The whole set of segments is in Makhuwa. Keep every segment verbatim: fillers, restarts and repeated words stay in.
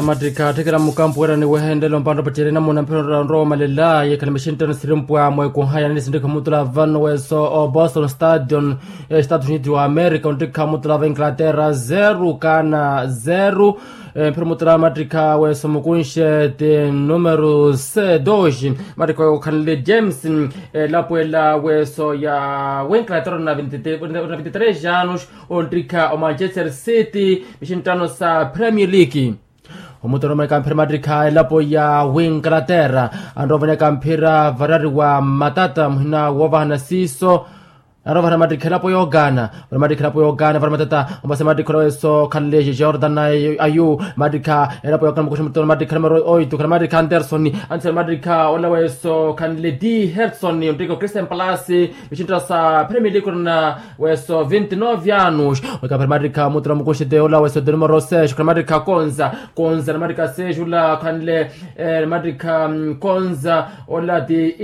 Mattikha atthikela mukampu weerani wehenlelo mpantta pacerina muna mphira onrowa omalela yekhale mixinttano sirimpwa mweekuhaya ni sinttikha mutula vano weeso o boston stadion estados unidos wa america onttikha mutula va inglaterra zero kana zero. Mphira mutula mattikha weeso mukunxe ti numero c dos. Mattikha okhanle james elapwela weeso ya winglaterra na vinti tres anos onttikha o manchester city mixinttano sa premier league. Omutoro mwaneka mphira mattikha elapo ya winglaterra anrowa vaneka mphira varari wa matata muhina woovahana siiso. Anrowa vahana mattikha elapo yoogana vana mattikha elapo yoogana vana matata. Ombasa mattikha olaweso khanle jordan ayu mattikha elapo yoogana mukuxa mutoro mattikha numero oito khala mattikha anderson. Anderson mattikha olaweso khanle d herson onttikha o christian palasi. Mixinttano sa premier league orina weso vinti nove anos. Weka phira mattikha mutula mukuxete ola weso de numero seis khula mattikha konza. Konza na mattikha seis ula khanle mattikha konza ola ti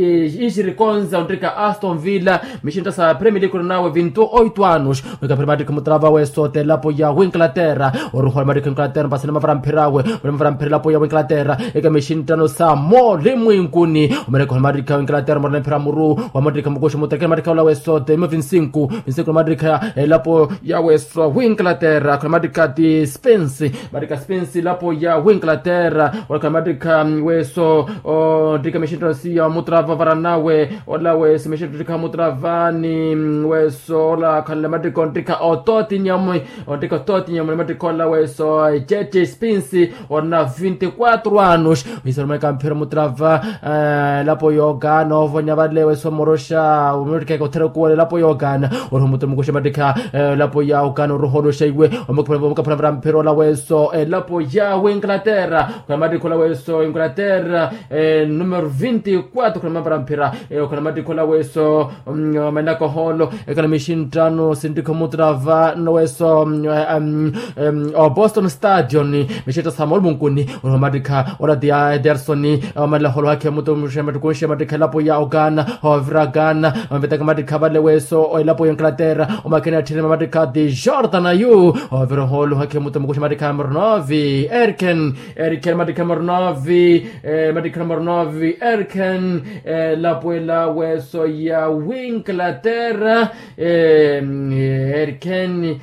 ixiri konza onttikha aston villa. Mixinttano sa premier league orina we vinti oito anos. Weka phira mattikha mutula va weso te lapo ya winglaterra oruhola mattikha winglaterra mpasana mavara mphira we. Mavara mphira lapo ya winglaterra eka mixinttano sa molimwinkuni. Omaneka ohola mattikha winglaterra morona mphira muru. Wa mattikha mukuxa muttekela mattikha ola weso te imo vinsinku. Vinsinku na mattikha elapo ya weso winglaterra khula mattikha ti spence. Mattikha spence elapo ya winglaterra ola khula mattikha weso. Onttikha mixinttano siya mutula va varanawe ola weso mixinttano onttikha mutula vani weso ola khanle mattikha onttikha ototinyamu. Onttikha ototinyamu na mattikha ola weso jeje spence. Orina vinti quatro anos. Isoromeka mphira mutula va elapo yoogana ovonya vale weso moroxa omutikeka othera okuwela elapo yoogana. Oriho mutula mukuxa mattikha elapo ya ugana oruholoxa iwe. Omukaphula mphira ola weso elapo ya winglaterra. Khula mattikha ola weso winglaterra numero vinti quatro khula mavara mphira. Khula mattikha ola weso manaka oholo ekhala mixinttano sinttikha mutula va noweso o boston stadion. Mixinttano sa molimwinkuni. Oriho mattikha ola ti ya ederson. Omanela oholo hakhe mutula mukuxa mattikha elapo ya ugana. Ovira ugana. Ovetaka mattikha vale weso elapo ya inglaterra. Omakhena atthirima mattikha ti jordan ayu. Ovira oholo hakhe mutula mukuxa mattikha numero nove erken. Erken mattikha numero nove. Mattikha numero nove erken. Elapo ela weso ya winglaterra erken.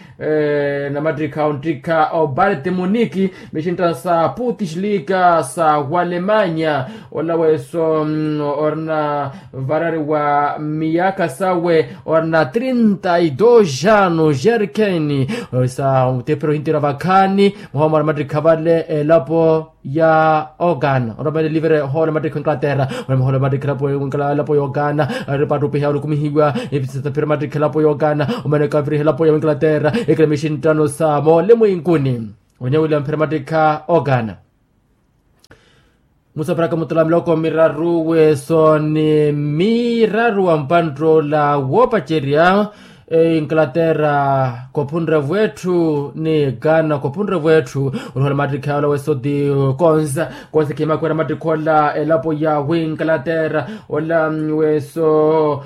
Na mattikha onttikha o bayern de munich. Mixinttano sa putis liga sa walemanya. Ola weso orina varari wa miyaka sawe orina trinta y dos anos jerkeni. Sa otepero hintira vakhaani. Muhomora mattikha vale elapo ya ogana oromele livere hole mattikha inglaterra. Oromele hole mattikha elapo ya ogana. Ripattupiha olukumihiwa. Episatapira mattikha elapo ya ogana. Omaneka viriha elapo ya inglaterra. Ekela mixinttano sa molemwinkuni. Onyawila mphira mattikha ogana. Musaparaka mutula miloko miraru weso ni miraru wa mpanttola woopacerya. Inglaterra kophunre vwetthu ni ghana kophunre vwetthu. Onihola mattikha ola weso ti konza konza khimaka wira mattikha ola elapo ya winglaterra. Ola weso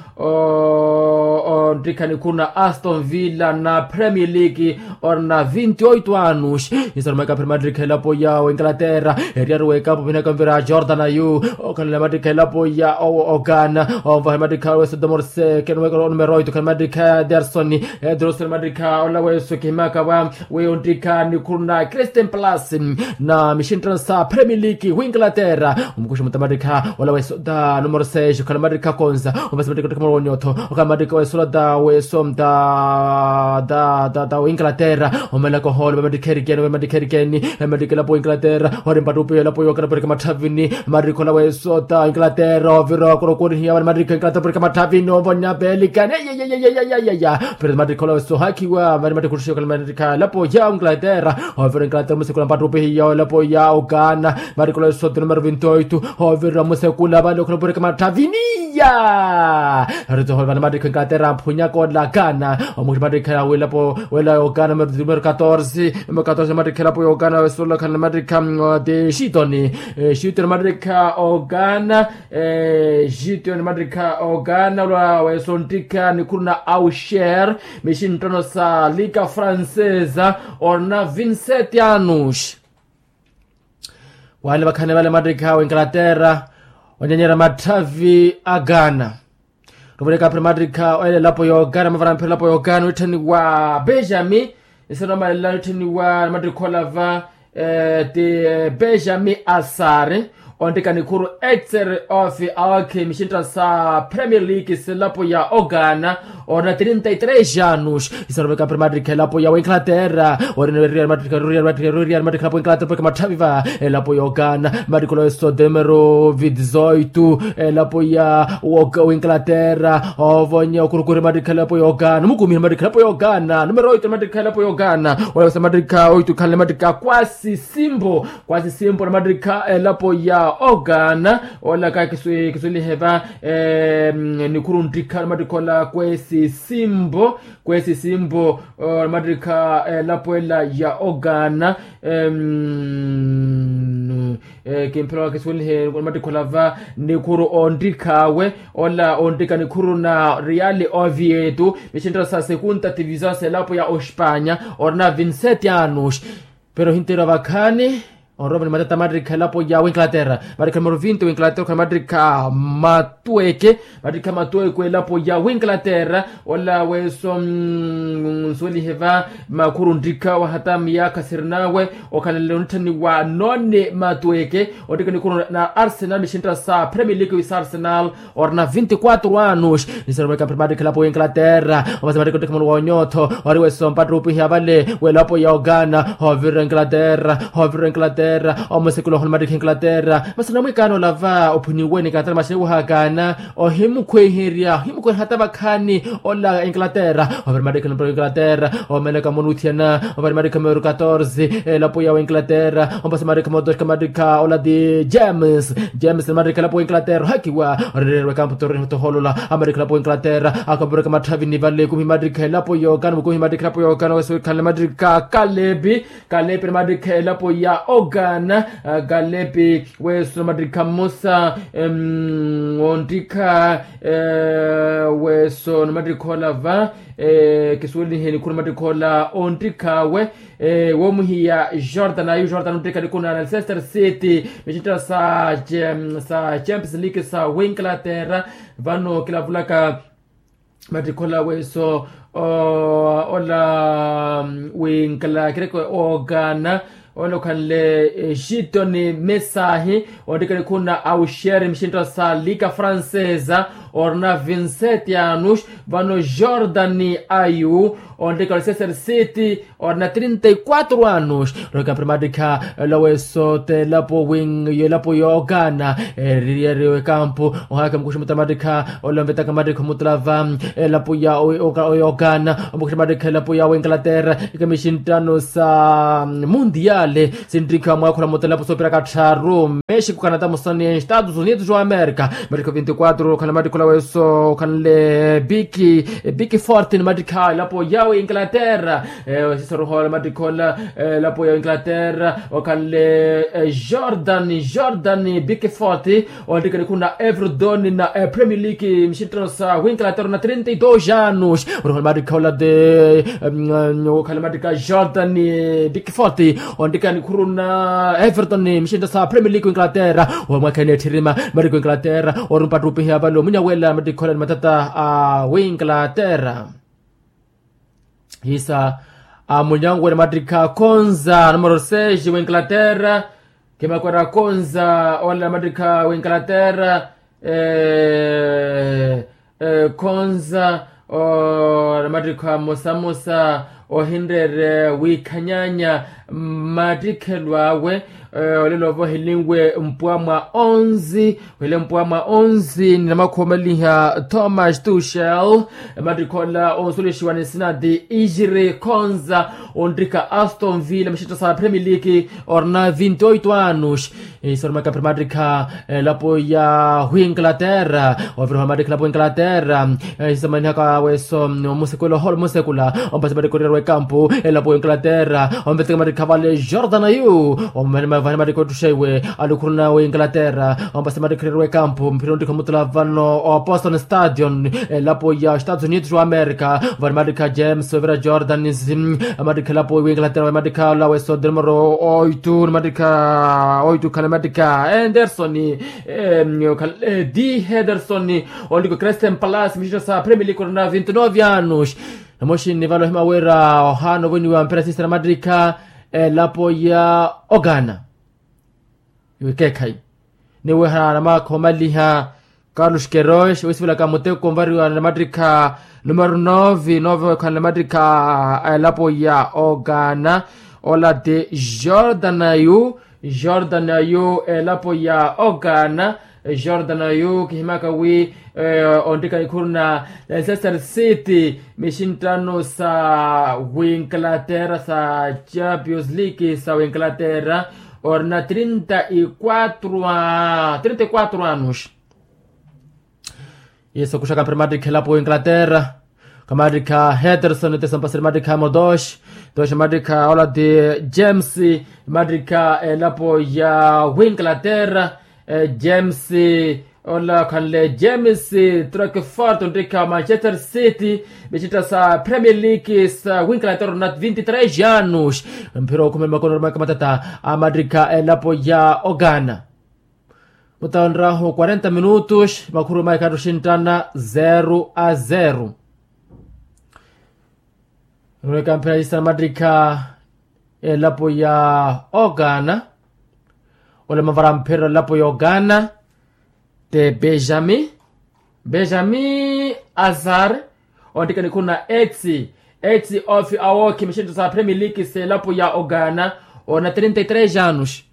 onttikha nikhuru na aston villa na premier league. Orina vinti oito anos. Insarumaika phira mattikha elapo ya winglaterra. Eriyaru wekapo vinaka mvira jordan ayu. Okhalela mattikha elapo ya ogana. Onvaha mattikha weso domorse kenweka numero oito khale mattikha ya derson. Ederson mattikha ola weso khimaka va. Weyo onttikha nikhuru na christian plus na mixinttano sa premier league winglaterra. Omukuxa mutamattikha ola weso da numero seis okhala mattikha konza. Omasi mattikha ottikha moro wonyotho okhala mattikha weso ola da weso da da da da winglaterra. Omelaka oholo vamattikha erikeni vamattikha erikeni. Vamattikha elapo winglaterra. Ori mpattupiha elapo yookhala porika matthavini. Mattikha ola weso da winglaterra ovira okorokoorihiya vamattikha winglaterra porika matthavini ovonya pelikani. Pero mattikha ola weso ohakhiwa vari mattikha ottixiwa okhala mattikha elapo ya winglaterra. Ovira inglaterra musekula mpattupihiya elapo ya ugana. Mattikha ola weso ti numero vinti oito. Ovira musekula vale okhala porika matthavini. Ya aritohole vana mattikha inglaterra amphunyaka ola ghana. Omuxi mattikha welapo wela ugana numero catorze. Numero catorze mattikha elapo ya ugana weso ola khana mattikha ti shitoni. Shitoni mattikha ugana. Shitoni mattikha ugana ola weso onttikha nikhuru na ausher. Mixinttano sa liga francesa. Orina vinti sete anos. Wale vakhani vale mattikha w'enkalaterra, onyanyerya matthavi a ghana. Ruvuleka aphira mattikha olela elapo y'oghana mavarana aphira elapo y'oghana witthaniwa benjamin. Nsinomalelela witthaniwa na mattikha olava ti benjamin asari, onttika nikhuru etser of alkhe mixintta sa premier league selapo ya oghana. Orina trinta y tres anos. Isaroveka aphira mattikha elapo ya w'enkalaterra. Orina ruriya mattikha ruriya mattikha ruriya mattikha elapo y'enkalaterra porke matthavi va elapo y'oghana mattikha olava eso demero vidizoitu. Elapo ya w'enkalaterra ovonya okurukuri mattikha elapo y'oghana omukumihira mattikha elapo y'oghana numero oitu mattikha elapo y'oghana. Olava eso mattikha oitu khanle mattikha kwasi simbo kwasi simbo na mattikha elapo ya oghana. Olaka kiswelihe va nikhuru nttikha na mattikha ola kwesi simbo kwesi simbo na mattikha elapo ela ya oghana. Kimphela wakiswelihe na mattikha ola va nikhuru onttikh'awe ola onttika nikhuru na real ovieto mixintta sa segunda tivision selapo ya ospanya. Orina vinsete anos. Pero ohinteeriwa vakhaani onrowa ni matata mattikha elapo ya w'enkalaterra. Mattikha numero vinti w'enkalaterra okhana mattikha matweke mattikha matweke elapo ya w'enkalaterra. Ola weso nsuwelihe va makhuru nttikha wahata miyaakha sirinawe okhanle onitthaniwa noni matweke. Onttika nikhuru na arsenal mixintta sa premier league wisa arsenal. Orina vinti kwatru anos. Nisaruweka mpira mattikha elapo y'enkalaterra. Omasi mattikha ottikha mulu wa onyootho ori weso mpattre opiha vale w'elapo ya oghana. Hoovirira enkalaterra hoovirira enkalaterra omusekula ohona mattikha enkalaterra. Masi namwikaana olava ophuniwe ni katara maxini wahakaana ohimukhweherya ohimukhweherya hata vakhaani. Ola enkalaterra ovira mattikha elapo y'enkalaterra. Omeleka monuthiyana ovira mattikha meru katorze elapo ya w'enkalaterra. Ompasi mattikha mootorika mattikha ola ti james. James ni mattikha elapo w'enkalaterra ohakiwa orereerwe kampu toroni otohoolola. Amattikha elapo w'enkalaterra akapureka matthavi ni vale kumi mattikha elapo y'oghana mukumi mattikha elapo y'oghana weso wikhanle mattikha kalepi. Kalepi ni mattikha elapo ya oghana. Kalepi weso mattikha mmosa wonttikha weso ni mattikha ola va kisuwelihe nikhuru mattikha ola onttikh'awe. Woomuhiya jordan ayu jordan onttika nikhuru na leicester city mixintta sa champions league sa w'enkalaterra. Vano kilavulaka mattikha ola weso ola w'enkalaterra oghana ola okhanle jitoni mesahi. Onttika nikhuru na ausher mixintta sa liga francesa orina vinsete anos. Vano jordan ayu onttika leicester city orina trinta y kwatru anos. Roka primatikha ela weso t'elapo wing y'elapo y'oghana eririye eri w'ekampu. Ohaakha mukuxi mutamatikha ola onvetaka matikha omutulava elapo ya y'oghana omukuxi matikha elapo ya w'enkalaterra. Ikamishi nttano sa mundiyale sinttikha mwaakhula mutalapo soopiraka tthaaru mexico canada musani estados unidos wa america. Matikha vinti kwatru okhala matikha ola weso okhanle biki biki forte ni matikha elapo ya w'enkalaterra. Sisaruhola matikha ola elapo ya w'enkalaterra okhanle jordan jordan biki forte. Onttika nikhuna everton na premier league mixinttano sa w'enkalaterra na trinta y dos anos. Oruhola matikha ola ti okhala matikha jordan biki forte. Onttika nikhuru na everton mixinttano sa premier league w'enkalaterra omwakhene etthirima matikha w'enkalaterra ori mpattupihi avale omunyawela matikha ola ni matata a w'enkalaterra. Isa amunyanwene matikha konza numero seis w'enkalaterra. Kimakwera konza ola matikha w'enkalaterra. Konza na matikha mmosamosa ohinreere wiikhanyanya matikhelo awe. Olelo ova ohilinwe mpwa mwa onzi ohile mpwa mwa onzi ni namakhuwa omaliha thomas tushel. Matikha ola onsulexiwa ni nsina ti ijiri khonza onttika aston villa mixitto sa premier league orina vinti oito anos. Isoromaka primatikha elapo ya w'enkalaterra oviriha matikha elapo w'enkalaterra. Isamanihaka weso omusekula oholo musekula ompasi matikha orira w'ekampu elapo w'enkalaterra omveteka matikha Vale jordan yu omene mavani matikottuxa iwe alukhuruna winglaterra. Ompasi matikhereriwa ekampu mphira ontikha omutula vano o boston stadion elapo ya estados unidos wa america. Vani matikha james ovira jordan matikha elapo winglaterra vani matikha lawe sodromoro oitu matikha oitu khana matikha anderson di hederson. Oliko christian palace mixita sa premier league orina vinti nove anos. Namoxinni vale ohima wira ohaana ovoniwa mpira sisana matikha elapo ya ogana. Iwe keekhayi niweha namaakha omaliha carlos keroes wisivelaka muteko onvariwa namatikha numero nove nove okhala namatikha elapo ya ogana. Ola ti jordan yu jordan yu elapo ya ogana. Jordan yu kihimaka wi ontika nikhuru na leicester city mixinttano sa winglaterra sa champions league sa winglaterra orina trinta y quatro anos. Yesu okuxaka mpira matikha elapo winglaterra. Kamatikha heterson tesompasiri matikha modosh tosh matikha ola ti james matikha elapo ya winglaterra. James ola khanle james trokfort ontikha manchester city mixintta sa premier league sa winglaterra orina vinti tres anos. Mphira okhumela makono oromaka matata amatikha elapo ya ogana. Mutawo nrahu quarenta minutos makhuru maikattu xinttana zero a zero. Nrweka mphira yisana mattikha elapo ya ogana. Ole mavara mphira elapo ya ogana. Te benjamin benjamin azar. Onttikha nikhuna etsi etsi ofi awookhi mixinttho sa premier league s'elapo ya ogana. Ona trinta y tres anos.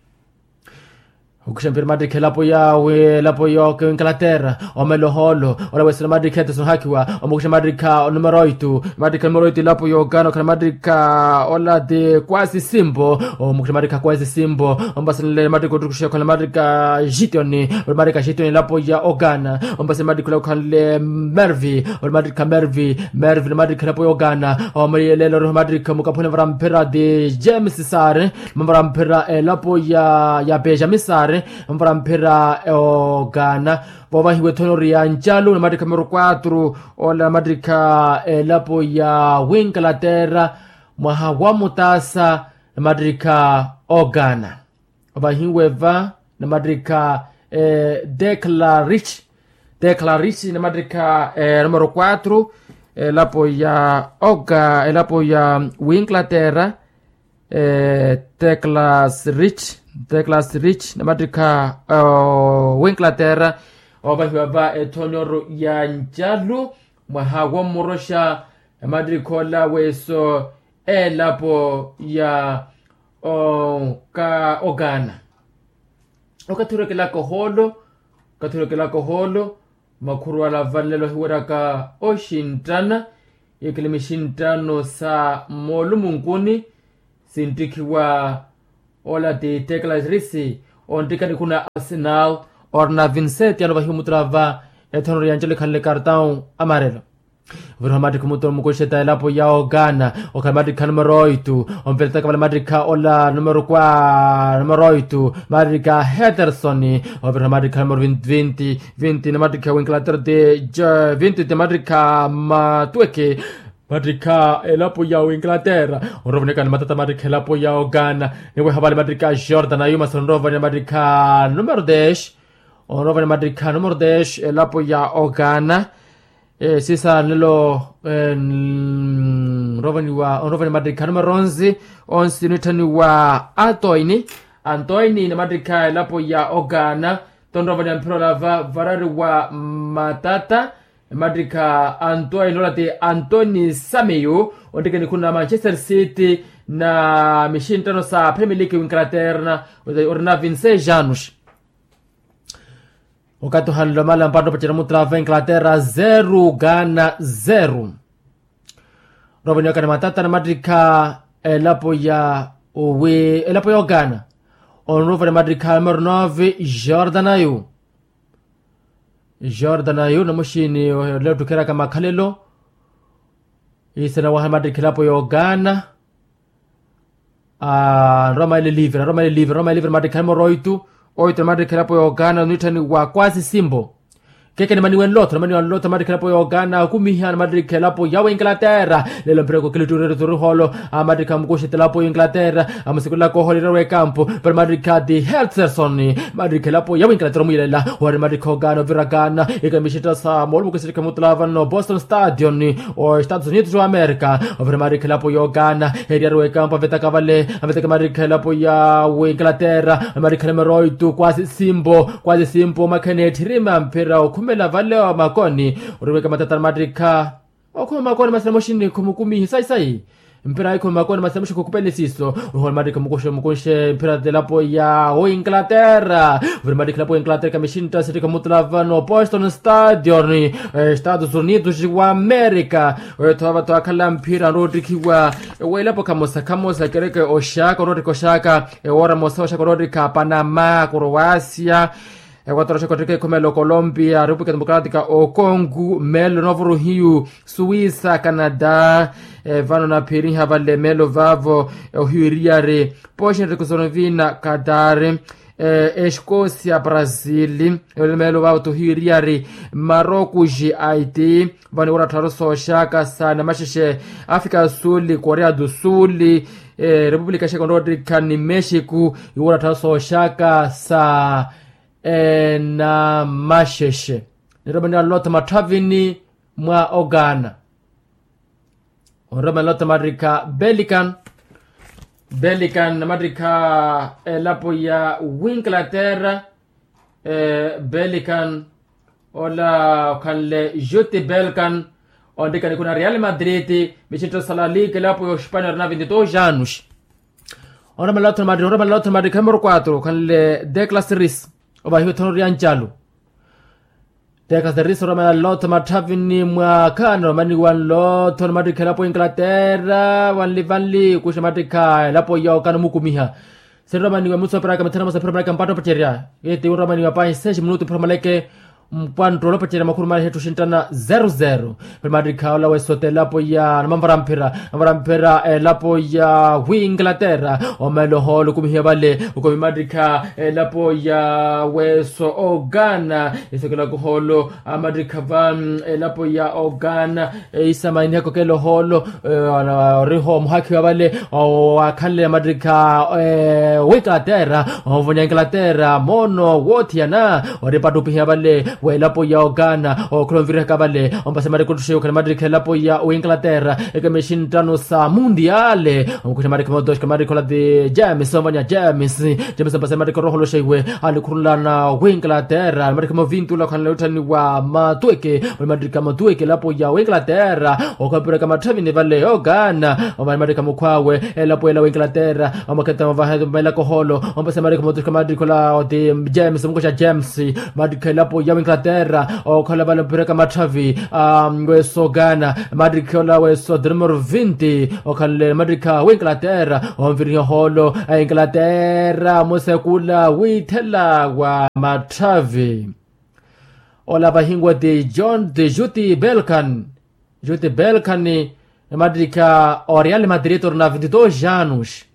Okhuxa mpira mattikha elapo ya wi elapo ya inglaterra. Omela ohoolo ola wesela mattikha eteso nhakiwa omukuxa mattikha onumero oitu. Mattikha onumero oitu elapo ya ogana okhana mattikha ola ti kwasi simpo. Omukuxa mattikha kwasi simpo. Ompasenle mattikha ottukuxa okhana mattikha jitioni. Ori mattikha jitioni elapo ya ogana. Ompasenle mattikha ola okhanle mervi ori mattikha mervi. Mervi na mattikha elapo ya ogana. Omaliyelela ori mattikha mukaphuni vara mphira ti james sari. Mavara mphira elapo ya ya benjamin sari. Mavara mphira ogana. Voovahiwa ethoni ori ya ncalu na mattikha numero quatro. Ola na mattikha elapo ya winglaterra mwaha wa mutaasa na mattikha ogana. Ovahiwe va na mattikha declarich declarich na mattikha numero quatro. Elapo ya oga elapo ya winglaterra. Teclas rich teclas rich na mattikha winglaterra. Ovahiwa va ethonyoro ya ncalu mwaha wa mmoroxa na mattikha ola weso elapo ya oka okana. Okathi orekelaka ohoolo okathi orekelaka ohoolo. Makhuru ala vanlelo hiweraka oxinttana. Yekele mixinttano sa moolumunkuni sinttikhiwa ola ti teclas risi. Onttikha nikhuna arsenal orina vinseti ano vahiwa mutula va ethonoro ya ncelo ekhanle kartão amarelo. Oviriha mattikha omuttuna mukuxeta elapo ya ogana. Okhala mattikha numero oitu. Ompeletaka vale mattikha ola numero kwa numero oitu mattikha heterson. Oviriha mattikha numero vinti vinti na mattikha winglaterra ti vinti ti mattikha matweke. Mattikha elapo ya winglaterra onrovo niyaka ni matata mattikha elapo ya ogana. Niweha vale mattikha jordan ayuma sonrovo ni mattikha numero desh. Onrovo ni mattikha numero desh elapo ya ogana. Sisa nlelo onrovaniwa onrovani mattikha numero onsi. Onsi nitthaniwa antoini. Antoini na mattikha elapo ya ogana. Tonrovani amphira olava varariwa matata. Mattikha antoini ola ti antoni sameyo. Onttikha nikhuna manchester city na mixinttano sa premier league winglaterra. Orina vinseis anos. Okathi ohanle omala mpatto pacerya mutula va inglaterra zero ghana zero. Nrovo niyaka ni matata na mattikha elapo ya owi elapo ya oghana. Onrovo ni mattikha numero nove jordan ayu. Jordan ayu na muxini ole ottukheraka makhalelo. Isana waha ni mattikha elapo ya oghana. Nroma ele livre nroma ele livre nroma ele livre mattikha nimooro oitu. Oitu namattikha elapo ya okana oniitthani wa kwasi simpo. Keke nimaniwe nlotho nimaniwe nlotho namattikha elapo ya okana okumiha namattikha elapo ya winglaterra. Lelo mpira kokilittureruturu hoolo amattikha mukuxi elapo ya winglaterra. Amusikulaka ohoolera wekampu pero mattikha ti heltherson. Mattikha elapo ya winglaterra omuyelela wari mattikha okana ovirakana. Ikamixitthasa moolumo kisilike mutula vano boston stadion. Oestados unidos wa amerika ovira mattikha elapo ya okana. Eriyari wekampu avetaka vale avetaka mattikha elapo ya winglaterra. Mattikha numero oitu kwasi simpo kwasi simpo omakhene etthirima mpira okhumela vale wa makoni. Oriweka matata namattikha okhuma makoni masina moxini khumukumihi sayi sayi. Mpira ayi khuma makoni masina moxini khukupele siiso. Oruhola mattikha mukuxe mukuxe mpira telapo ya oinglaterra. Vuri mattikha elapo ya inglaterra kamixintta sittikha mutula vano boston stadion, estados unidos wa amerika. Oyo tho vava tho akhala mpira nroottikhiwa ewelapo khamosa khamosa kereke oxaka oroottikha oxaka. Ewoora mosa oxaka oroottikha panama croacia. Equator oxaka ottikha ekhumelo colombia república democrática ocongo melo novoruhiyu suíça canadá. Vano naphiriha vale melo vavo ohiyu eriyari poxinrekusonovina qatar, escocia brasil. Melo vavo tohiyu eriyari marocos haiti. Vano iwora tthaaru sooxaka sa namaxexe africa do sul corea do sul, república xeka onroottikha ni mexico iwora tthaaru sooxaka sa namaxexe. Niromani alotha matthavini mwa okana. Onromani alotha mattikha pelican pelican namattikha elapo ya winglaterra. Pelican ola okhanle juti pelican. Onttikani kuna real madrid. Mixintta salalik elapo ya ospania orina vinti dos anos. Onromani alotha mattikha onromani alotha mattikha numero quatro okhanle declas ris. Ovahiwa ethono ria ncalu. Tekaserise oromela nlotho matthavini mwakha niromaniwa nlotho nimattikha elapo ya inglaterra vanli vanli kuxa mattikha elapo ya okana omukumiha. Siniromaniwa emusoperaka mithana mosa phira manaka mpatta opacerya. Eti niromaniwa pahi seis minutu phira maleke mpwanttolo opacerya makhuru mali hettu xinttana zero zero. Phira mattikha ola wesota elapo ya namanvara mphira. Namanvara mphira elapo ya inglaterra. Omelo holo okumihiwa vale. Okomi mattikha elapo ya weso okana. Isokela kuholo amattikha va elapo ya okana. Isamanihaka okela oholo oriho omuhakhiwa vale. Wakhanle amattikha winglaterra ovonya inglaterra moono woothiyana. Ori epattupihiwa vale welapo ya okana okhula onvirihaka vale. Ompasa mattiko ottuxiwa okhala mattikha elapo ya winglaterra. Ekemexinttano sa mundiale. Omukuxa mattikha motoxika mattikha ola ti james ovonya james. James ompasa mattikha oroholoxa iwe alikhurunlana winglaterra mattikha movintula okhanle otthaniwa matuweke. Oli mattikha matuweke elapo ya winglaterra. Okhopiraka matthavini vale okana omali mattikha mukhwawe. Elapo ela winglaterra omakheta mavaha omelaka oholo. Ompasa mattikha matuxika mattikha ola oti james omukuxa james. Mattikha elapo ya winglaterra okhala vale ophiraka matthavi. Weso okana mattikha ola weso de numero vinti. Okhanle mattikha winglaterra onviriha oholo a inglaterra musekula withela wa matthavi. Ola vahinwa ti john ti juti belkan. Juti belkan mattikha o real madrid orina vinti dos anos.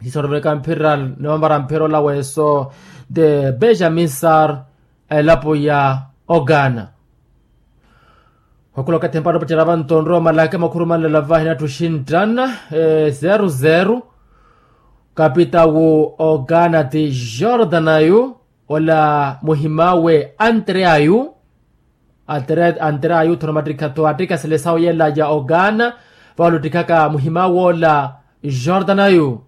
Sisoroveleka mphira niwamvara mphira ola weso de benjamin sar. Elapo ya okana. Khwakhula okathi mpatta opacerya vanto onrowa malaka makhuru manlala vahi natthu xinttana zero zero. Kapitawu okana ti jordan ayu ola muhimawe antre ayu. Antre ayu tho namattikha tho attikasele sawu yela ya okana. Vawo luttikhaka muhimawe ola jordan ayu.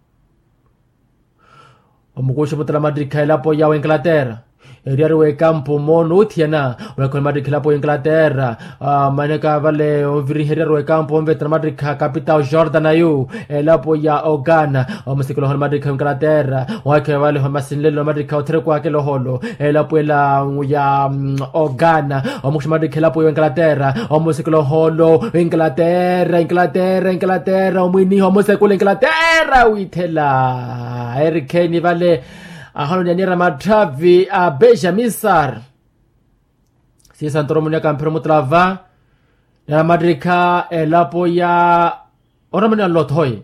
Omukuxa omutala mattikha elapo ya winglaterra. Eriyari wekampu moono othiyana. Olakhiwa nimattikha elapo ya winglaterra. Manaka vale onviriha eriyari wekampu onvetana mattikha kapitawu jordan ayu elapo ya okana. Omusikula oholo mattikha winglaterra. Owakhiwa vale masinlelo mattikha otherekwakela oholo elapo ela ya okana. Omukuxa mattikha elapo ya winglaterra omusikula oholo inglaterra inglaterra inglaterra omwiniha omusekula inglaterra withela. Erikheni vale ahano nyanyera matthavi a benjamin sar. Sisanto oromunyaka mphira omutala va namattikha elapo ya oramani anlothoye.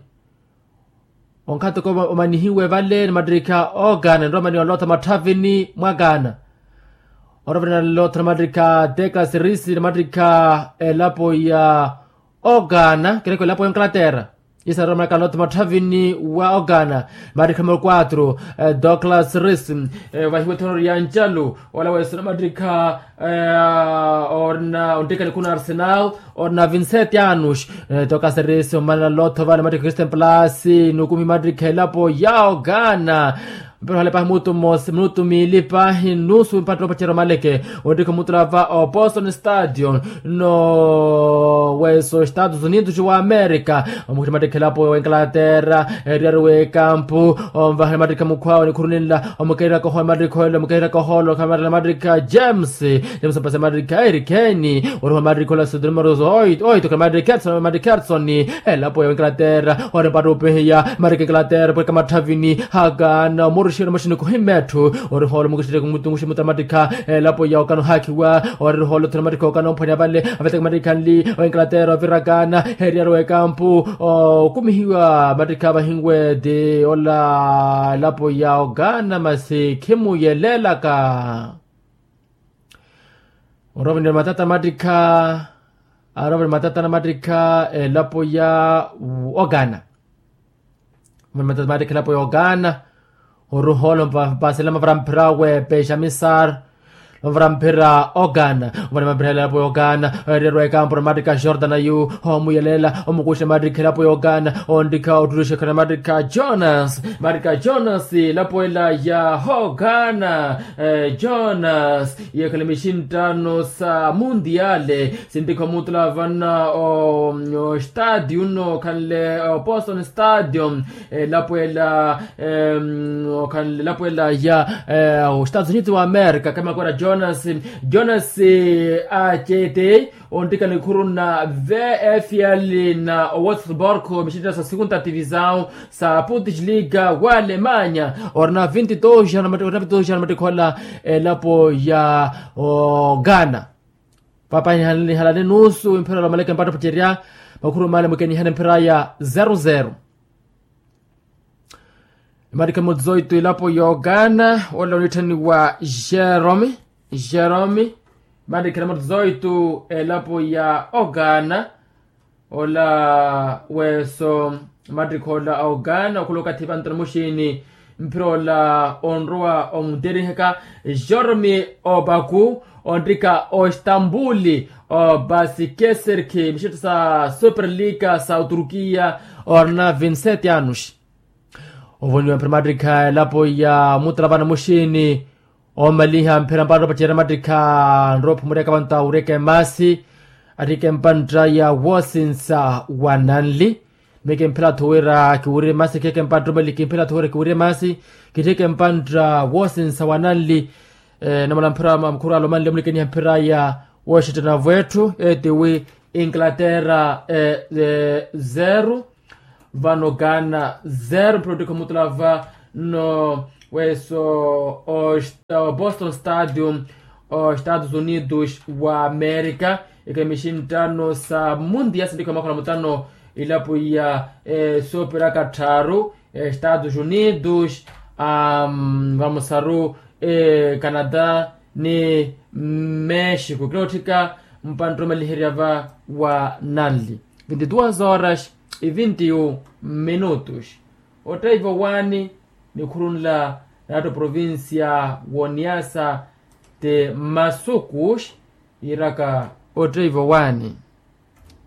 Onkhato ko omanihiwe vale ni mattikha okana nroomaniwa lotha matthavini mwakana. Orovani na lotha na mattikha tekla sirisi na mattikha elapo ya okana kereko elapo ya onkalaterra. Isa romanaka lotha matthavini wa okana mattikha numero quatro, douglas ris. Vahiwe thonori ya ncalu ola wesuna mattikha orina ontikani kuna arsenal. Orina vinsete anus. Toka seresi omanela lotho vale mattikha christian plus nukumi mattikha elapo ya okana. Mpero hale pahi mutu mmosi minutu miili pahi nusu mpatto opacerya omaleke. Ontikha omutula va opostoni stadion no wesa ostados unidos wa amerika. Omukhiri mattikha elapo wa ingalaterra. Eriyari w'ekampu onvahani mattikha mukhwawe nikhuru ninla omukeherya kohola mattikha ola omukeherya kohola okhala mattikha james. James mpasa mattikha erikheni. Orihola mattikha ola sudrimoros oito oito khala mattikha edson mattikha edson. Elapo ya ingalaterra ori mpatto upihiya mattikha ingalaterra pweka matthavini. Hakana omuruxi ori muxini kuhimma etthu. Orihola omukuxitteku mutunguxi mutala mattikha elapo ya okana ohakhiwa. Ori orihola othuna mattikha okana omphwanya vale aveteke mattikha nli. Oingalaterra ovirakana eriyari w'ekampu okumihiwa mattikha vahinwe ti ola elapo ya okana masi khimuyelelaka. Orovani matata mattikha arovani matata na mattikha elapo ya okana. Mani matata mattikha elapo ya okana. Oruhola mpasela mavara mphira we pexamisar mavara mphira okana. Ovani mapirihela elapo ya okana eriyari w'ekampu na mattikha jordan ayu omuyelela omukuxa mattikha elapo ya okana. Onttikha ottulixa khana mattikha jonas mattikha jonas elapo ela ya okana. Jonas yekhala mixinttano sa mundiale. Sinttikha omutula vana ostadio nno okhanle opostoni stadio. Elapo ela okhanle elapo ela ya ostados unidos wa amerika khamakora jonas. Jonas acete onttikani khuruna vfl na owattsburg mixinttano sa segunda divisao sa putishliga wa alemanya. Orina vinti dos jana mattikhola elapo ya okana. Paapa nihalani nusu mphira ola omaleke mpatto opacerya makhuru male mukenihani mphira ya zero zero. Mattikha numero dezoito elapo ya okana ola oniitthaniwa jerome. Jerome mattikha numero dezoito elapo ya okana. Ola weso mattikha ola a okana okhula okathi vantu na muxini mphira ola onrowa omuteriheka. Jerome opaku onttikha ostambuli o basikeserki mixitto sa superliga sa oturkiya. Orina vinsete anus. Ovoniwa mphira mattikha elapo ya mutala vana muxini omaliha mphira mpatto opacerya mattikha nroopha mureka vantu awureka emasi. Attika empantta ya wosinsa wa nanli. Meke mphira athu wira kiwirye masi keke mpantta omali kimphira athu wira kiwirye masi. Kitthike mpantta wosinsa wa nanli. Namala mphira makhuru alomanle mulikeniha mphira ya woxittanavo etthu etiwi inglaterra zero vano ghana zero mphira ottikha omutulava nno weso o boston stadium o estados unidos wa amerika. Ekhala mixinttano sa mundia sinttikha makhono mutano ilapo ya soopera katthaaru estados unidos vamusaru canada ni mexico kila otthika mpantta omaliherya va wa nanli vinti duas horas e vinti un minutos. Ottaivo waani nikhurunla naatto provincia woniasa ti masukus iiraka ottaivo waani.